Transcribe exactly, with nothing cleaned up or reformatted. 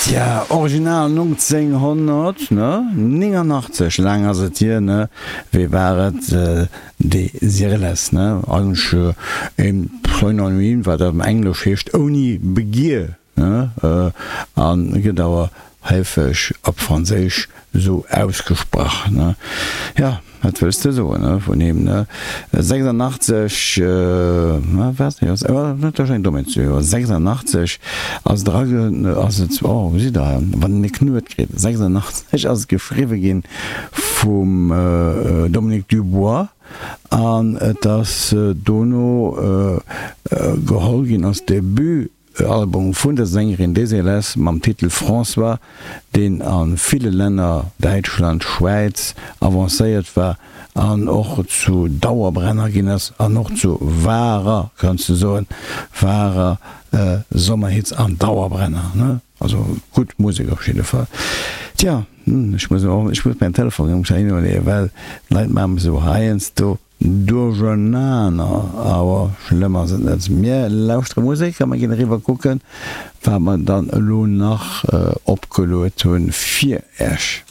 Tja, original nonzénghonnertnéngannachtzeg, laang ass et hier, ne? Wéi war et? Désirless, ne? Eigentlech e Pseudonym, wat am Englesch heescht ouni Begier, ne? A gëtt awer heefeg op Franséisch esou ausgesprach, ne? Jo, wat wëlls de soen, ne, vun him, ne? sechsundachtzeg, ne, wat, jo, dat ass eng Domaine, jo, sechsundachtzeg ass et erage, ass et, oh, gesitt Der, wann een e Knuet kritt, sechsundachtzeg ass et geschriwwe ginn vum Dominique Dubois an et ass dono geholl ginn als Debut. Album vun der Sängerin Désilets mam Titel François, deen a ville Länner, Däitschland, Schwäiz, avancéiert war an och zu Dauerbrenner ginn ass an och zu wahrer, kanns de soen, wahrer Sommerhits an Dauerbrenner, ne? Also gutt Musek op jidde Fall. Tja, ech muss och, ech muss mäin Telefon erëm schnell hinleeën, well d'Leit maache mech esou heiansdo Duerchenaner, awer schlëmm ass et net. Mir lauschtere Musek a mir ginn eriwwer kucken, wat mer dann elo nach opgeluet hunn fir Äech.